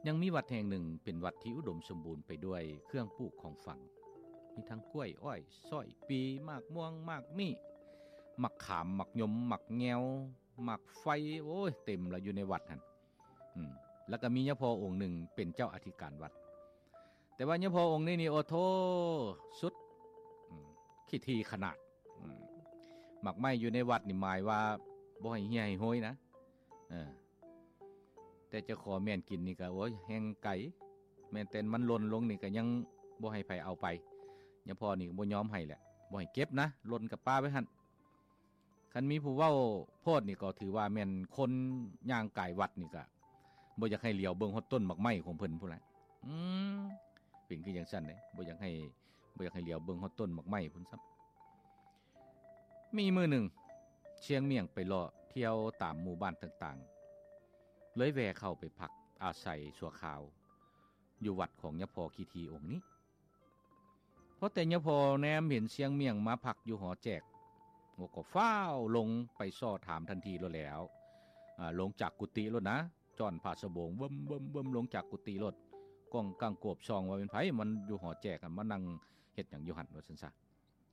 ຍັງມີວັດແຫ່ງໜຶ່ງເປັນວັດທີ່ອຸດົມສົມບູນໄປດ້ວຍເຄື່ອງປູກຂອງຝັງ, ມີທັງກ້ວຍ, ອ້ອຍ, ຊ້ອຍ, ປີ, ໝາກມ່ວງ, ໝາກມີ້, ໝາກຂາມ, ໝາກຍົມ, ໝາກແງວ, ໝາກໄຟ, ໂອ້ຍ ເຕັມລະຢູ່ໃນວັດຫັ້ນ. ອືມ ແລ້ວກໍມີຍາພໍ່ອົງໜຶ່ງເປັນເຈົ້າອະທິການວັດ. ແຕ່ວ່າຍາພໍ່ອົງນີ້ນີ້ ໂອ້ໂທ້ ສຸດ ອືມ ຂີ້ຖີ່ຂະໜາດ. ອືມ ໝາກໄມ້ຢູ່ໃນວັດນີ້ໝາຍວ່າບໍ່ໃຫ້ເຫ່ຍໃຫ້ໂຮຍນະ. ເອີ ແຕ່ຈະຂໍແມ່ນກິນນີ້ກໍ ໂອ້ຍ ແຮ່ງໄກ, ແມ່ນແຕ່ມັນຫຼົ່ນລົງນີ້ກໍຍັງບໍ່ໃຫ້ໃຜເອົາໄປ. ຍາພໍ່ນີ້ກໍບໍ່ຍອມໃຫ້ແຫຼະ, ບໍ່ໃຫ້ເກັບນະ, ຫຼົ່ນກໍປະໄວ້ຫັ້ນ. ຄັນມີຜູ້ເວົ້າໂພດນີ້ກໍຖືວ່າແມ່ນຄົນຍ່າງກາຍວັດນີ້ກະບໍ່ຢາກໃຫ້ຫຼຽວເບິ່ງຮອດຕົ້ນໝາກໄມ້ຂອງເພິ່ນພຸ້ນແຫຼະ. ອືມ ເປັນຄືຈັ່ງຊັ້ນເດ້, ບໍ່ຢາກໃຫ້ ບໍ່ຢາກໃຫ້ຫຼຽວເບິ່ງຮອດຕົ້ນໝາກໄມ້ພຸ້ນຊ້ຳ. ມີມື້ໜຶ່ງ ຊຽງໝ້ຽງໄປເລາະທ່ຽວຕາມໝູ່ບ້ານຕ່າງໆ ເລີຍແວ່ເຂົ້າໄປພັກອາໄສຊົ່ວຄາວຢູ່ວັດຂອງຍາພໍ່ຂີ້ຖີ່ອົງນີ້. ພໍແຕ່ຍາພໍ່ແນມເຫັນຊຽງໝ້ຽງມາພັກຢູ່ຫໍແຈກ ກໍຟ້າວລົງໄປຊໍ້ຖາມທັນທີໂລດແລ້ວ. ອາ ລົງຈາກກຸຕິໂລດນະ, ຈ້ອນຜ້າສະໂບງເບິ່ມໆໆ ລົງຈາກກຸຕິໂລດ, ກ້ອງກ້າງກວບສ່ອງວ່າເປັນໃຜ ມັນຢູ່ຫໍແຈກ ມານັ່ງເຮັດຫຍັງຢູ່ຫັ້ນ ວ່າຊັ້ນຊະ.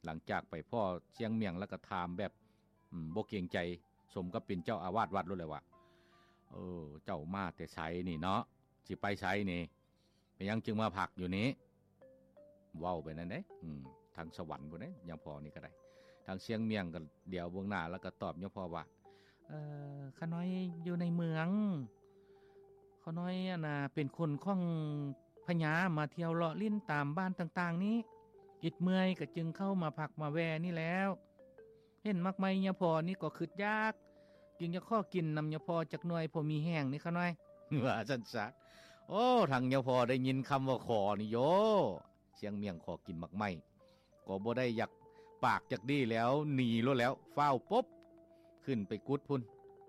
ຫຼັງຈາກໄປພໍ້ຊຽງໝ້ຽງແລ້ວກໍຖາມແບບ ອືມ ບໍ່ເກງໃຈ, ສົມກັບເປັນເຈົ້າອາວາດວັດໂລດແຫຼະວ່າ, ເອີ ເຈົ້າມາແຕ່ໃສນີ້ເນາະ? ຊິໄປໃສນີ້? ເປັນຫຍັງຈຶ່ງມາພັກຢູ່ນີ້? ເວົ້າໄປນັ້ນເດ້. ອືມ ທາງສະຫວັນພຸ້ນເດ້ ຍາພໍ່ນີ້ກໍໄດ້. ທາງຊຽງໝ້ຽງກໍຫຼຽວເບິ່ງໜ້າ ແລ້ວກໍຕອບຍາພໍ່ວ່າ, ເອີ ຂ້ານ້ອຍຢູ່ໃນເມືອງ, ຂ້ານ້ອຍ ອັນນ່າ ເປັນຄົນຂອງພະຍາ ມາທ່ຽວເລາະຫຼິ້ນຕາມບ້ານຕ່າງໆນີ້, ອິດເມື່ອຍກໍຈຶ່ງເຂົ້າມາພັກມາແວ່ນີ້ແລ້ວ. ເຫັນໝາກໄມ້ຍາພໍ່ນີ້ກໍຄຶດຢາກ, ຈຶ່ງຢາກຂໍກິນນຳຍາພໍ່ຈັກໜ່ວຍ ພໍມີແຮງນີ້ຂ້ານ້ອຍ, ວ່າຊັ້ນຊະ. ໂອ້ ທາງຍາພໍ່ໄດ້ຍິນຄຳວ່າຂໍນີ້ໂຢ, ຊຽງໝ້ຽງຂໍກິນໝາກໄມ້ ກໍບໍ່ໄດ້ຢາກປາກຈັກດີ້ແລ້ວ, ໜີໂລດແລ້ວ, ຟ້າວປົບຂຶ້ນໄປກຸດພຸ້ນ,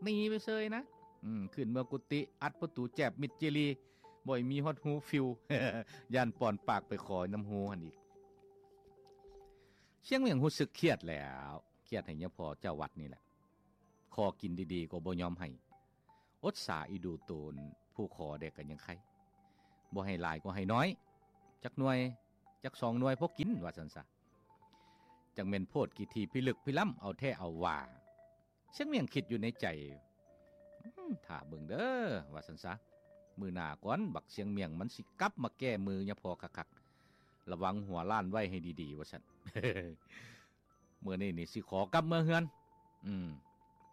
ໜີໄປເຊີຍນະ. ອືມ ຂຶ້ນເມືອກຸຕິ ອັດປະຕູແຈບມິດຈີລີ, ບໍ່ໃຫ້ມີຮອດຮູຟິວ, ຢ້ານປ່ອນປາກໄປຂໍນຳຮູຫັ້ນອີກ. ຊຽງໝ້ຽງຮູ້ສຶກຄຽດແລ້ວ, ຄຽດໃຫ້ຍາພໍ່ເຈົ້າວັດນີ້ແຫຼະ, ຂໍກິນດີໆກໍບໍ່ຍອມໃຫ້, ອົດສາອີ່ດູໂຕນຜູ້ຂໍແດ່ກໍຍັງໄຄ, ບໍ່ໃຫ້ຫຼາຍກໍໃຫ້ນ້ອຍ, ຈັກໜ່ວຍ ຈັກສອງໜ່ວຍພໍກິນ ວ່າຊັ້ນຊະ. ຈັກແມ່ນໂພດຂີ້ຖີ່ພິລຶກພິລຳເອົາແທ້ເອົາວ່າ. ຊຽງໝ້ຽງຄິດຢູ່ໃນໃຈ, ອືມ ຖ້າເບິ່ງເດີ ວ່າຊັ້ນຊະ, ມື້ໜ້າກ່ອນບັກຊຽງໝ້ຽງມັນຊິກັບມາແກ້ມືຍາພໍ່ຄັກໆ, ລະວັງຫົວລ້ານໄວ້ໃຫ້ດີໆ ວ່າຊັ້ນ. ມື້ນີ້ນີ້ຊິຂໍກັບເມືອເຮືອນ, ອືມ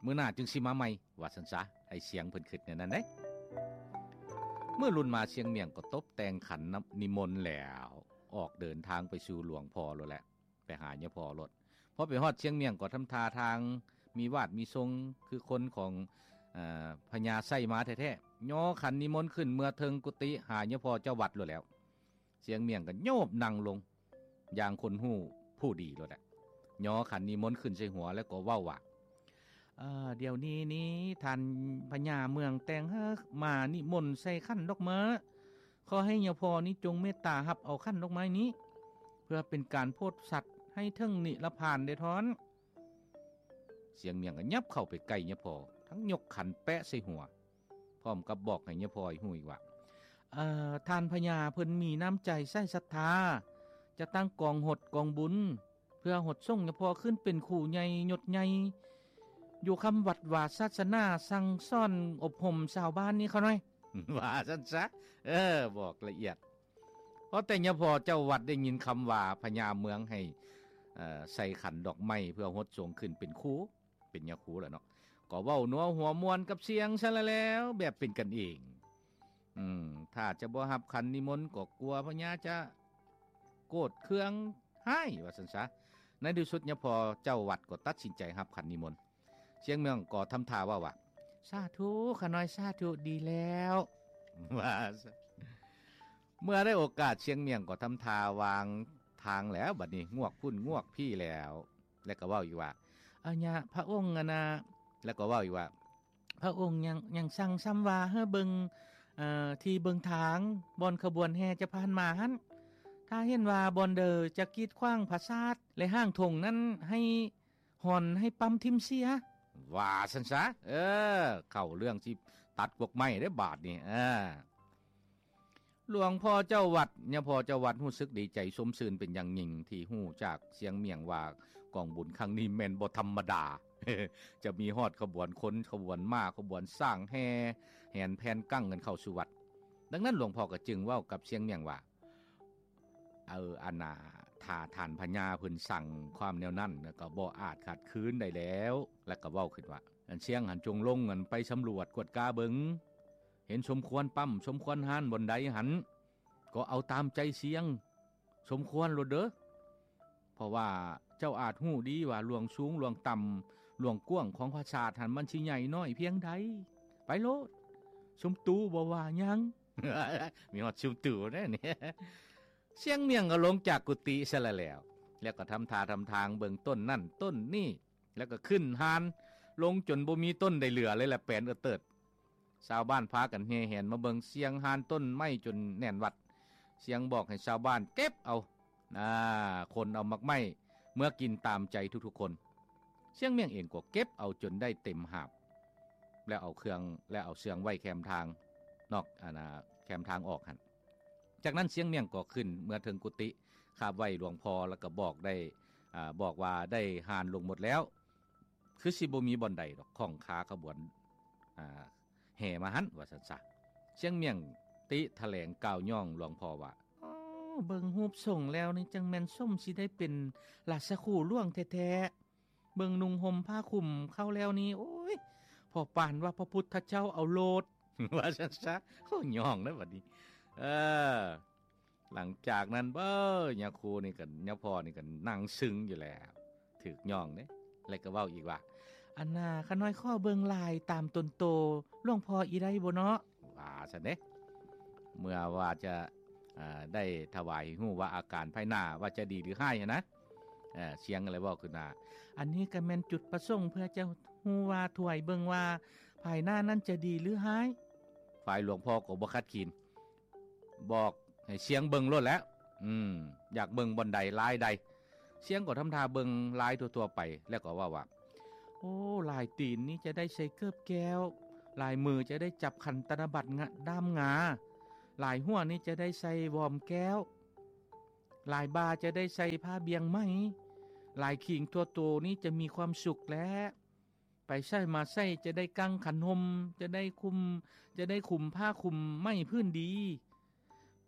ມື້ໜ້າຈຶ່ງຊິມາໃໝ່ ວ່າຊັ້ນຊະ. ໄອ້ຊຽງເພິ່ນຄິດແນວນັ້ນເດ້. ມື້ລຸນມາຊຽງໝ້ຽງກໍຕົບແຕ່ງຂັນນະ ນິມົນແລ້ວ ອອກເດີນທາງໄປສູ່ຫຼວງພໍ່ໂລດແຫຼະ, ໄປຫາຍາພໍ່ໂລດ. ພໍໄປຮອດຊຽງໝ້ຽງກໍທຳທ່າທາງມີວາດມີຊົງ ຄືຄົນຂອງ ເອີ ພະຍາໄຊມາແທ້ໆ, ຍໍຂັນນິມົນຂຶ້ນເມືອເທິງກຸຕິຫາຍາພໍ່ເຈົ້າວັດໂລດແລ້ວ. ຊຽງໝ້ຽງກໍໂຍບນັ່ງລົງ ຢ່າງຄົນຮູ້ຜູ້ດີໂລດແຫຼະ, ຍໍຂັນນິມົນຂຶ້ນໃສ່ຫົວ ແລ້ວກໍເວົ້າວ່າ, ເອີ ດຽວນີ້ນີ້ທ່ານພະຍາເມືອງແຕ່ງເຮີມານິມົນໃສ່ຂັນດອກເມີ, ຂໍໃຫ້ຍາພໍ່ນີ້ຈົ່ງເມດຕາຮັບເອົາຂັນດອກໄມ້ນີ້ ເພື່ອເປັນການໂພດສັດໃຫ້ເຖິງນິລະພານເດ້ທ່ານ. ຊຽງໝ້ຽງກໍຫຍັບເຂົ້າໄປໃກ້ຍາພໍ່ ທັງຍົກຂັນແປະໃສ່ຫົວ ພ້ອມກັບບອກໃຫ້ຍາພໍ່ຮູ້ອີກວ່າ, ເອີ ທ່ານພະຍາເພິ່ນມີນ້ຳໃຈໃສ່ສັດທາ ຈະຕັ້ງກອງຫົດກອງບຸນ ເພື່ອຫົດສົ່ງຍາພໍ່ຂຶ້ນເປັນຄູໃຫຍ່ຍົດໃຫຍ່ ຢູ່ຄ້ຳວັດວາສາສະໜາ ສັ່ງສອນອົບຮົມຊາວບ້ານນີ້ຂ້ານ້ອຍ, ວ່າຊັ້ນຊະ. ເອີ ບອກລະອຽດ. ພໍແຕ່ຍາພໍ່ເຈົ້າວັດໄດ້ຍິນຄຳວ່າພະຍາເມືອງໃຫ້ ເອີ ໃສ່ຂັນດອກໄມ້ເພື່ອຫົດສົ່ງຂຶ້ນເປັນຄູ ເປັນຍາຄູແຫຼະເນາະ, ກໍເວົ້ານົວຫົວມ່ວນກັບຊຽງຊັ້ນລະແລ້ວ ແບບເປັນກັນເອງ. ອືມ ຖ້າຈະບໍ່ຮັບຂັນນິມົນກໍກົວພະຍາຈະໂກດເຄືອງຮ້າຍ ວ່າຊັ້ນຊະ. ໃນທີ່ສຸດຍາພໍ່ເຈົ້າວັດກໍຕັດສິນໃຈຮັບຂັນນິມົນ. ຊຽງໝ້ຽງກໍທຳທ່າເວົ້າວ່າ, ສາທຸ ຂ້ານ້ອຍ ສາທຸ ດີແລ້ວ ວ່າຊັ້ນ. ເມື່ອໄດ້ໂອກາດ ຊຽງໝ້ຽງກໍທຳທ່າວາງທາງແລ້ວ, ບັດນີ້ງວກພຸ້ນງວກພີ້ແລ້ວ ແລ້ວກໍເວົ້າອີກວ່າ, ອາຍະ ພະອົງ ອັນນ່າ, ແລ້ວກໍເວົ້າອີກວ່າ, ພະອົງຍັງ ຍັງສັ່ງຊ້ຳວ່າໃຫ້ເບິ່ງ ເອີ ທີ່ເບິ່ງທາງ ບ່ອນຂະບວນແຫ່ຈະຜ່ານມາຫັ້ນ, ຖ້າເຫັນວ່າບ່ອນໃດຈະກີດຂວາງຜາສາດ ແລະ ຫາງທົ່ງນັ້ນໃຫ້ ຮ່ອນໃຫ້ປ້ຳຖິ້ມເສຍ ວ່າຊັ້ນຊະ. ເອີ ເຂົ້າເລື່ອງຊິຕັດກວກໄມ້ເດ້ບາດນີ້. ເອີ ຫຼວງພໍ່ເຈົ້າວັດ ຍາພໍ່ເຈົ້າວັດຮູ້ສຶກດີໃຈຊົມຊື່ນເປັນຢ່າງຍິ່ງ ທີ່ຮູ້ຈາກຊຽງໝ້ຽງວ່າກອງບຸນຄັ້ງນີ້ແມ່ນບໍ່ທຳມະດາ ຈະມີຮອດຂະບວນຄົນ ຂະບວນມ້າ ຂະບວນຊ້າງ ແຫ່ແຫນແຜ່ນກັງກັນເຂົ້າສູ່ວັດ. ດັ່ງນັ້ນຫຼວງພໍ່ກໍຈຶ່ງເວົ້າກັບຊຽງໝ້ຽງວ່າ ເອີ ອັນນ່າ ຖ້າທ່ານພະຍາເພິ່ນສັ່ງຄວາມແນວນັ້ນ ກໍບໍ່ອາດຂັດຂືນໄດ້ແລ້ວ. ແລ້ວກໍເວົ້າຂຶ້ນວ່າ ອັນຊຽງຫັ້ນຈົ່ງລົງ ອັນໄປສຳຫຼວດກວດກາເບິ່ງ ເຫັນສົມຄວນປ້ຳ ສົມຄວນຮ້ານບ່ອນໃດຫັ້ນ ກໍເອົາຕາມໃຈຊຽງ ສົມຄວນໂລດເດີ ເພາະວ່າເຈົ້າອາດຮູ້ດີວ່າຫຼວງສູງຫຼວງຕ່ຳ ຫຼວງກວ້າງຂອງພະສາດຫັ້ນ ມັນຊິໃຫຍ່ນ້ອຍພຽງໃດ. ໄປໂລດ ຊຸມຕູບໍ່ວ່າຫຍັງ. ມີຮອດຊຸມຕູແດ່ນີ້. ຊຽງໝ້ຽງກໍລົງຈາກກຸຕິຊະລະແລ້ວ ແລ້ວກໍທຳທ່າທຳທາງເບິ່ງຕົ້ນນັ້ນຕົ້ນນີ້ ແລ້ວກໍຂຶ້ນຮ່ານລົງຈົນບໍ່ມີຕົ້ນໃດເຫຼືອເລີຍລະ ແປນເອີເຕີດ. ຊາວບ້ານພາກັນແຫ່ແຫນມາເບິ່ງຊຽງຮ່ານຕົ້ນໄມ້ຈົນແໜ້ນວັດ. ຊຽງບອກໃຫ້ຊາວບ້ານເກັບເອົາ ອາ ຂົນເອົາໝາກໄມ້ເມືອກິນຕາມໃຈທຸກໆຄົນ. ຊຽງໝ້ຽງເອງກໍເກັບເອົາຈົນໄດ້ເຕັມຫາບ ແລ້ວເອົາເຄື່ອງ ແລ້ວເອົາເຊື່ອງໄວ້ແຄມທາງນອກ ອັນນ່າ ແຄມທາງອອກຫັ້ນ. ຈາກນັ້ນຊຽງໝ້ຽງກໍຂຶ້ນເມືອເທິງກຸຕິ ຄາບໄຫວ້ຫຼວງພໍ່ ແລ້ວກໍບອກໄດ້ ອາ ບອກວ່າໄດ້ຮ່ານລົງໝົດແລ້ວ ຄືຊິບໍ່ມີບ່ອນໃດດອກ ຂ້ອງຄາຂະບວນ ອາ ແຫ່ມາຫັ້ນ ວ່າຊັ້ນຊະ. ຊຽງໝ້ຽງຕິຖະແຫຼງກ່າວຍ້ອງຫຼວງພໍ່ວ່າ ອໍ ເບິ່ງຮູບຊົງແລ້ວນີ້ ຈັ່ງແມ່ນສົມຊິໄດ້ເປັນລາຊະຄູຫຼວງແທ້ໆ. ເບິ່ງນຸ່ງຫົ່ມຜ້າຄຸມເຂົ້າແລ້ວນີ້ ໂອ້ຍ ພໍປານວ່າພະພຸດທະເຈົ້າເອົາໂລດ ວ່າຊັ້ນຊະ. ໂອ້ ຍ້ອງເດ້ບັດນີ້. ເອີ ຫຼັງຈາກນັ້ນ ເອີ ຍາຄູນີ້ກໍ ຍາພໍ່ນີ້ກໍນັ່ງຊຶງຢູ່ແລ້ວ ຖືກຍ້ອງເດ້. ແລ້ວກໍເວົ້າອີກວ່າ ອັນນ່າ ຂ້ານ້ອຍຂໍເບິ່ງລາຍຕາມຕົນໂຕຫຼວງພໍ່ອີກໄດ້ບໍ່ເນາະ ວ່າຊັ້ນເດ້. ເມື່ອວ່າຈະ ອາ ໄດ້ຖວາຍໃຫ້ຮູ້ວ່າອາການພາຍໜ້າວ່າຈະດີຫຼືຮ້າຍຫັ້ນນະ. ເອີ ຊຽງກໍເລີຍເວົ້າຂຶ້ນວ່າ ອັນນີ້ກໍແມ່ນຈຸດປະສົງເພື່ອຈະຮູ້ວ່າ ຖວາຍເບິ່ງວ່າພາຍໜ້ານັ້ນຈະດີຫຼືຮ້າຍ. ຝ່າຍຫຼວງພໍ່ກໍບໍ່ຂັດຂືນ ບອກໃຫ້ຊຽງເບິ່ງໂລດແຫຼະ ອືມ ຢາກເບິ່ງບ່ອນໃດລາຍໃດ. ຊຽງກໍທຳທ່າເບິ່ງລາຍທົ່ວໆໄປ ແລ້ວກໍເວົ້າວ່າ ໂອ້ ລາຍຕີນນີ້ຈະໄດ້ໃສ່ເກີບແກ້ວ ລາຍມືຈະໄດ້ຈັບຂັນຕະນະບັດງະ ດ້າມງາ ລາຍຫົວນີ້ຈະໄດ້ໃສ່ວອມແກ້ວ ລາຍບ່າຈະໄດ້ໃສ່ຜ້າບ່ຽງໄໝ ລາຍຄີງທົ່ວໂຕນີ້ຈະມີຄວາມສຸກແລະ ໄປໃສມາໃສຈະໄດ້ກາງຂັນຫົ່ມ ຈະໄດ້ຄຸມ ຈະໄດ້ຄຸມຜ້າຄຸມໄໝພື້ນດີ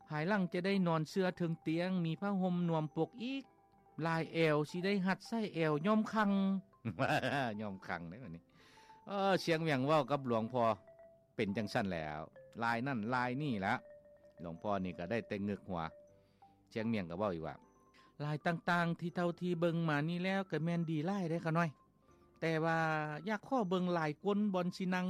ພາຍຫຼັງຈະໄດ້ນອນເຊື່ອເທິງຕຽງ ມີຜ້າຫົ່ມນວມປົກອີກ ລາຍແອວຊິໄດ້ຮັດໃສ່ແອວຍ້ອມຄັງ ຍ້ອມຄັງເດ້ບັດນີ້. ເອີ ຊຽງໝ້ຽງເວົ້າກັບຫຼວງພໍ່ເປັນຈັ່ງຊັ້ນແລ້ວ ລາຍນັ້ນລາຍນີ້ລະ ຫຼວງພໍ່ນີ້ກໍໄດ້ແຕ່ງຶກຫົວ. ຊຽງໝ້ຽງກໍເວົ້າອີກວ່າ ລາຍຕ່າງໆທີ່ເທົ່າທີ່ເບິ່ງມານີ້ແລ້ວກໍແມ່ນດີຫຼາຍເດ້ຂະນ້ອຍ ແຕ່ວ່າຢາກຂໍເບິ່ງລາຍກົ້ນບ່ອນຊິນັ່ງ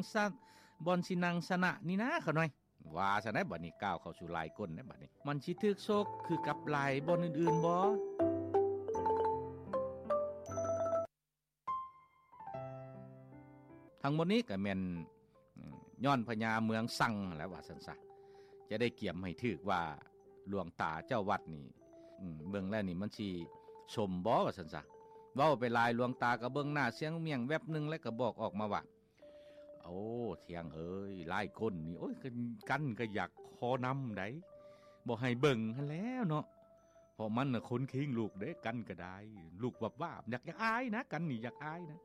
ບ່ອນຊິນັ່ງຊະນະນີ້ນາຂະນ້ອຍ ວ່າຊັ້ນໃດ໋. ບັດນີ້ກ້າວເຂົ້າສູ່ລາຍກົ້ນໃດ໋ ບັດນີ້ ມັນຊິຖືກໂຊກຄືກັບລາຍບ່ອນອື່ນໆບໍ່? ທັງໝົດນີ້ກໍແມ່ນ ອືມ ຍ້ອນພະຍາເມືອງສັ່ງຫັ້ນແຫຼະ ວ່າຊັ້ນຊະ ຈະໄດ້ກຽມໃຫ້ຖືກວ່າຫຼວງຕາເຈົ້າວັດນີ້ ອືມ ເບິ່ງແລ້ວນີ້ມັນຊິສົມບໍ່ ວ່າຊັ້ນຊະ. ເວົ້າໄປຫຼາຍ ຫຼວງຕາກໍເບິ່ງໜ້າຊຽງໝ້ຽງແວັບໜຶ່ງ ແລ້ວກໍບອກອອກມາວ່າ ໂອ້ ຊຽງເອີຍ ລາຍກົ້ນນີ້ ໂອ້ຍ ກັນກໍຢາກຂໍນຳໃດ໋ ບໍ່ໃຫ້ເບິ່ງຫັ້ນແຫຼະເນາະ ເພາະມັນນະຄົນຄີງລຸກເດ້ ກັນກໍໄດ້ ລຸກວາບໆ ຢາກ ຢາກອາຍນະ ກັນນີ້ຢາກອາຍນະ.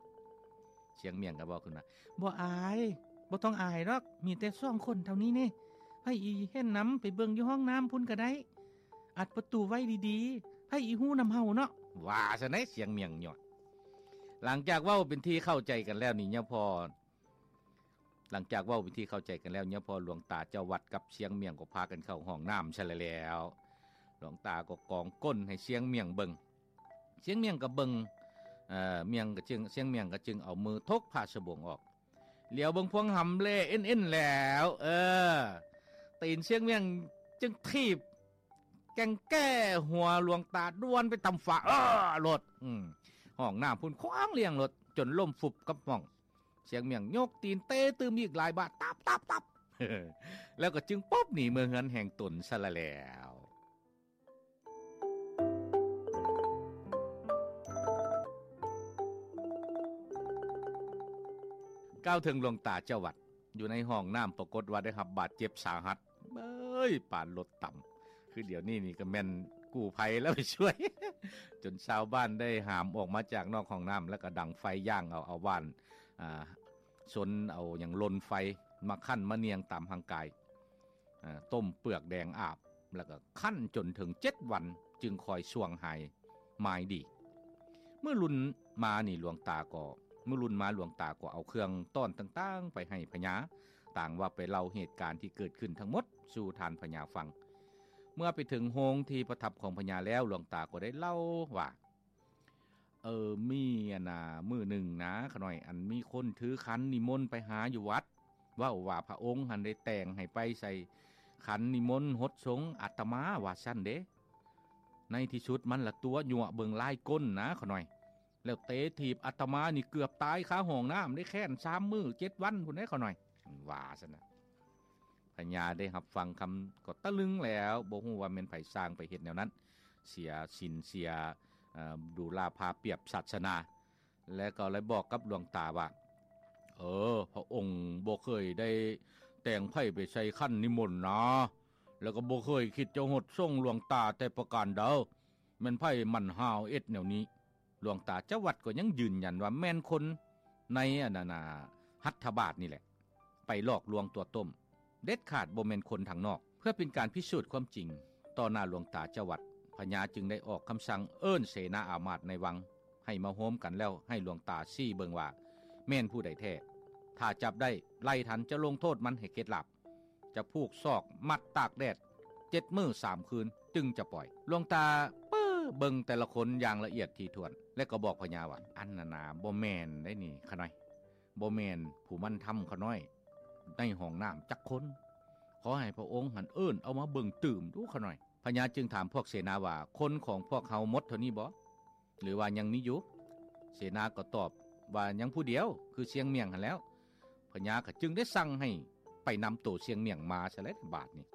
ຊຽງໝ້ຽງກໍເວົ້າຂຶ້ນວ່າ ບໍ່ອາຍ ບໍ່ຕ້ອງອາຍດອກ ມີແຕ່ສອງຄົນເທົ່ານີ້ນີ້ ໃຜອີເຫັນນຳ ໄປເບິ່ງຢູ່ຫ້ອງນ້ຳພຸ້ນກໍໄດ້ ອັດປະຕູໄວ້ດີໆ ໃຜອີຮູ້ນຳເຮົາເນາະ ວ່າຊັ້ນໃດ໋ ຊຽງໝ້ຽງຍອດ. ຫຼັງຈາກເວົ້າເປັນທີ່ເຂົ້າໃຈກັນແລ້ວນີ້ ຍາພໍ່ ຫຼັງຈາກເວົ້າເປັນທີ່ເຂົ້າໃຈກັນແລ້ວ ຍາພໍ່ ຫຼວງຕາເຈົ້າວັດກັບຊຽງໝ້ຽງກໍພາກັນເຂົ້າຫ້ອງນ້ຳຊະແລ້ວ. ຫຼວງຕາກໍກອງກົ້ນໃຫ້ຊຽງໝ້ຽງເບິ່ງ ຊຽງໝ້ຽງກໍເບິ່ງ ເອີ ໝ້ຽງກໍຈຶ່ງ ຊຽງໝ້ຽງກໍຈຶ່ງເອົາມືທົກຜ້າສະບົງອອກ ຫຼຽວເບິ່ງພວງຫຳແລ່ເອັນໆແລ້ວ ເອີ ຕີນຊຽງໝ້ຽງຈຶ່ງຖີບ ແກ່ງແກ້ຫົວຫຼວງຕາດ່ວນໄປຕຳຟ້າ ເອີ ໂລດ ອືມ ຫ້ອງນ້ຳພຸ້ນຂວ້າງລຽງໂລດ ຈົນລົ້ມຟຸບກັບຫ້ອງ. ຊຽງໝ້ຽງຍົກຕີນເຕະຕື່ມອີກຫຼາຍບາດ ຕັບໆໆ ແລ້ວກໍຈຶ່ງປົບໜີເມືອເຮືອນແຫ່ງຕົນຊະລະແລ້ວ. ກ່າວເຖິງຫຼວງຕາເຈົ້າວັດ ຢູ່ໃນຫ້ອງນ້ຳ ປາກົດວ່າໄດ້ຮັບບາດເຈັບສາຫັດ ເອີຍ ປານລົດຕຳ ຄືດຽວນີ້ນີ້ກໍແມ່ນກູ້ໄພແລ້ວໄປຊ່ວຍ ຈົນຊາວບ້ານໄດ້ຫາມອອກມາຈາກນອກຫ້ອງນ້ຳ ແລ້ວກໍດັງໄຟຍ່າງເອົາ ເອົາຫວ່ານ ອ່າ ຊົນເອົາຫຍັງລົນໄຟ ມາຄັ້ນມານຽງຕາມຮ່າງກາຍ ອ່າ ຕົ້ມເປືອກແດງອາບ ແລ້ວກໍຄັ້ນຈົນເຖິງເຈັດວັນ ຈຶ່ງຄ່ອຍສ່ວງຫາຍມາຍດີ. ມື້ລຸນມານີ້ຫຼວງຕາກໍ ມື້ລຸນມາຫຼວງຕາກໍເອົາເຄື່ອງຕ້ອນຕ່າງໆໄປໃຫ້ພະຍາ ຕ່າງວ່າໄປເລົ່າເຫດການທີ່ເກີດຂຶ້ນທັງໝົດສູ່ທ່ານພະຍາຟັງ. ເມື່ອໄປເຖິງໂຮງທີ່ປະທັບຂອງພະຍາແລ້ວ ຫຼວງຕາກໍໄດ້ເລົ່າວ່າ ເອີ ມີອັນນ່າ ມື້ໜຶ່ງນາ ຂະນ້ອຍ ອັນມີຄົນຖືຂັນນິມົນໄປຫາຢູ່ວັດ ເວົ້າວ່າພະອົງຫັ້ນໄດ້ແຕ່ງໃຫ້ໄປໃສ່ຂັນນິມົນຫົດສົງອາດຕະມາ ວ່າຊັ້ນເດ້. ໃນທີ່ສຸດມັນລະຕົວະຍົວະເບິ່ງລາຍກົ້ນນາ ຂະນ້ອຍ ແລ້ວເຕະຖີບອາດຕະມານີ້ເກືອບຕາຍຄາຫ້ອງນ້ຳໄດ້ ແຄ້ນສາມມື້ເຈັດວັນພຸ້ນເດ້ ຂະນ້ອຍ ວ່າຊັ້ນນະ. ພະຍາໄດ້ຮັບຟັງຄຳກໍຕະລຶງແລ້ວ ບໍ່ຮູ້ວ່າແມ່ນໃຜສ້າງໄປເຮັດແນວນັ້ນ ເສຍສິນເສຍ ເອີ ດູລາພາປຽບສາສະໜາ ແລະກໍໄດ້ບອກກັບຫຼວງຕາວ່າ ເອີ ພະອົງບໍ່ເຄີຍໄດ້ແຕ່ງໃຜໄປໃສ່ຂັນນິມົນນາ ແລ້ວກໍບໍ່ເຄີຍຄິດຈະຫົດສົງຫຼວງຕາແຕ່ປະການໃດ ແມ່ນໃຜໝັ່ນຫາວເຮັດແນວນີ້. ຫຼວງຕາເຈົ້າວັດກໍຍັງຢືນຢັນວ່າແມ່ນຄົນໃນອັນນັ້ນນະ ຮັດຖະບາດນີ້ແຫຼະ ໄປຫຼອກລວງຕົວະຕົ້ມ ເດັດຂາດບໍ່ແມ່ນຄົນທາງນອກ. ເພື່ອເປັນການພິສູດຄວາມຈິງຕໍ່ໜ້າຫຼວງຕາເຈົ້າວັດ ພະຍາຈຶ່ງໄດ້ອອກຄຳສັ່ງເອີ້ນເສນາອາມາດໃນວັງໃຫ້ມາໂຮມກັນ ແລ້ວໃຫ້ຫຼວງຕາຊີ້ເບິ່ງວ່າແມ່ນຜູ້ໃດແທ້. ຖ້າຈັບໄດ້ໄລ່ທັນ ຈະລົງໂທດມັນໃຫ້ເຂັດຫຼາບ ຈະຜູກສອກມັດຕາກແດດເຈັດມື້ສາມຄືນຈຶ່ງຈະປ່ອຍ. ຫຼວງຕາເປີ້ເບິ່ງແຕ່ລະຄົນຢ່າງລະອຽດຖີ່ຖ້ວນ ແລະກໍບອກພະຍາວ່າ ອັນນັ້ນນາ ບໍ່ແມ່ນໄດ໋ນີ້ ຂະນ້ອຍ ບໍ່ແມ່ນຜູ້ໝັ່ນທຳຂະນ້ອຍໃນຫ້ອງນ້ຳຈັກຄົນ. ຂໍໃຫ້ພະອົງຫັ້ນເອີ້ນເອົາມາເບິ່ງຕື່ມດູຂະນ້ອຍ. ພະຍາຈຶ່ງຖາມພວກເສນາວ່າ ຄົນຂອງພວກເຮົາໝົດເທົ່ານີ້ບໍ ຫຼືວ່າຍັງມີຢູ່? ເສນາກໍຕອບວ່າຍັງຜູ້ດຽວ ຄືຊຽງໝ້ຽງຫັ້ນແລ້ວ. ພະຍາກໍຈຶ່ງໄດ້ສັ່ງໃຫ້ໄປນຳໂຕຊຽງໝ້ຽງມາຊະແຫຼະບາດນີ້.